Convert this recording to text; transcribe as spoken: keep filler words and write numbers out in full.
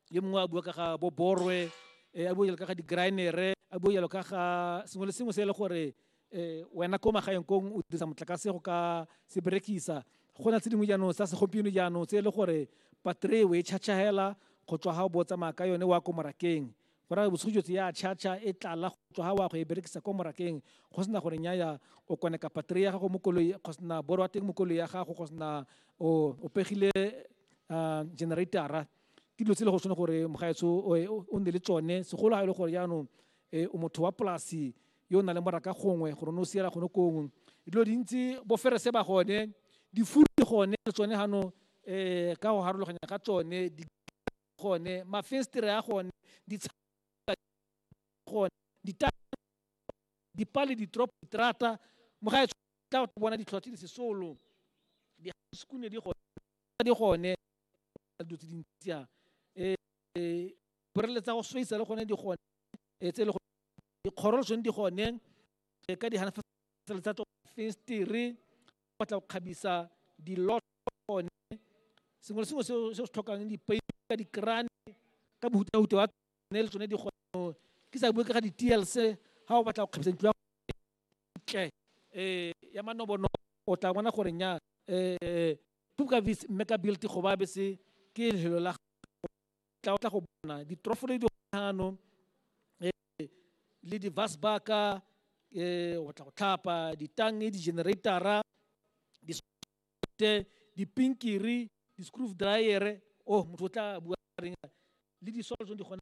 Yo mongwe a bua ka ga bo borwe, eh, a bua jalo ka ga di-grindere, a bua jalo ka ga sengwe le sengwe se e le gore eh, wena ko magaeng kong o dirisa motlakase go ka se berekisa. Go na tse dingwe jaanong tsa segompieno jaanong tse e le gore battery o e charge hela go tswa ga o bo tsamaya ka yone wa ko morakeng, go raya bosigo jotse ya charge e tlala go tswa ga wa go e berekisa ko morakeng, go sena gore nyaya o koneka battery ya gago mo koloi, go sena boro wa teng mo koloi ya gago, go sena o o pegile uh, generatora. Ke dilo tse e le go tshwane gore mogaetsho o o nne le tsone, segolo ga e le gore jaanong eh, o motho wa polasi yo o nang le moraka gongwe gore o ne o siela gone kongwe. Dilo dintsi boferese ba gone, difuru di gone le tsone gano um ka go harologanya ga tsone di gone, mafenstere a gone, gone, dipale, ditoropo, diterata. Mogaetsho tla bona ditlhwatlhwa tse di sesolo, di-skune di gone, di gone dilo tse dintsi a um borele tsa go sweisa le gone di gone, tse e le dikgoro le tsone di gone ka di tsa fenstere, batla go kgabisa dilot gone, sengwe le sengwe se se tlhokang, dipeipi ka dikrane ka bohutahuta wa tsone le tsone di gone. Ke sa bue ka ga di-T L C, ga o batla go kgabisa ntlo ya ntle um ya manobonobo, o tla bona gore nya um Pupka Mega Build go ba bese ke lefelo la tla o tla go bona ditrofolo di gano le di-vasbaka, um o tla go tlhapa ditange, di-generatora, dipinkiri, di-screw driere. Oh, motho o tla bua reng? Le disolo tsone di gone.